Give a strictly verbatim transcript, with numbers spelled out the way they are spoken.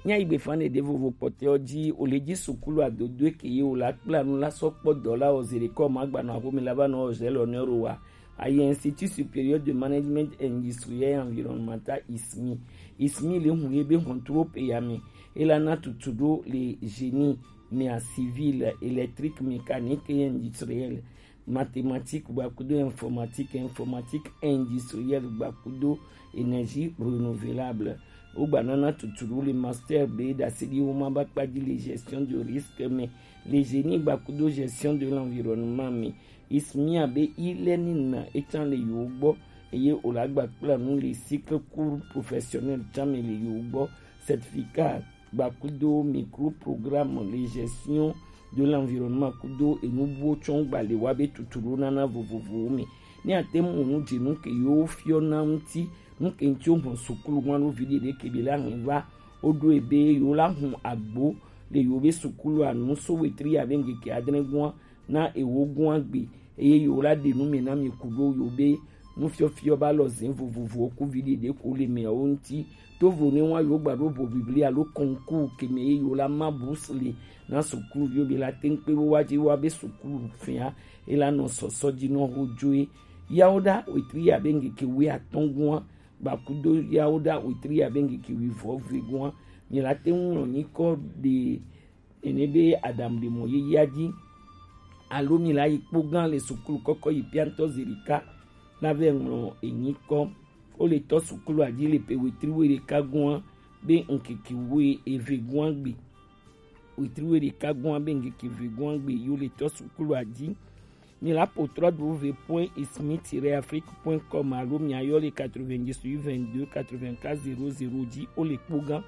Nya igbe fan de vovo kpɔtɛ ɔ ji o le ji sukulu adodo ke ye o la kpla nu la sɔ kpɔ dɔ la o zere kɔ ma gba nɔ axome la va nɔ o zɛ lɔ nɛ ro wa. Aye Institut Supérieur de Management Industriel et Environnemental, ismi. Ismi le hun ye be hɔntro pe ya mi. E la na tutu do le génie, mia civil, électrique, mécanique et industriel, mathématique gbakudo informatique, informatique industrielle gbakudo énergie renouvelable. Wo gba nana tuturu le master be dasidi wo ma ba kpa ji le gestion de risque me, le génie gbakudo gestion de l'environnement me. Ismia be ile ni na etan le yo gbɔ, eye o la gba kpla nu le cycle cours professionnel tan me le yo gbɔ, certificat gbakudo micro programme le gestion de l'environnement kudo enubuwo tsɔn gba le wa be tuturu nana vovovowo me. Ne ate mu nu dze nu ke yo fiɔ na ŋuti, nu ke ŋuti wo hɔn sukulu ŋua nu vi ɖeɖe ke bi la hɛn va, wo ɖo ebe yo la hun agbo le yo be sukulu anu so wetri ya be ŋgeke adre gua na ewo gua gbe, eye yo la ɖe nu me na mi kudo yo be nufiɔfiɔ ba lɔ zin vovovowo ku vi ɖeɖe ko le mɛ wo ŋuti. To vo ne wa yo gba ɖo bo bibli alo concours ke me ye yo la ma bourse le na sukulu yo be la teŋ kpe wo wa dzi wa be sukulu fia e la nɔ sɔsɔ dzi nɔ ho dzoe. Yawo ɖa wetri ya be ŋgeke wi atɔn gua gbakudo yawo ɖa wetri ya be ŋgeke wi vɔ ve gua mi la teŋ nɔ nyikɔ ɖe ene be Adam ɖe mɔ yeyea dzi, alo mi la yi kpo gã le sukulu kɔkɔ yi piantɔ zerika la vɛ ŋlɔ enyi kɔ. Wo le tɔ sukulu adzi le pe wetri we ɖeka gua be ŋkeke we eve gua gbe. Wetri we ɖeka gua be ŋkeke ve gua gbe yo le tɔ sukulu adzi. Mi la po trois w point ismi tiret afrique point com alo mi ayɔ le quatre-vingt-dix-huit vingt-deux quatre-vingt-quatre zéro zéro dzi wo le kpo gã.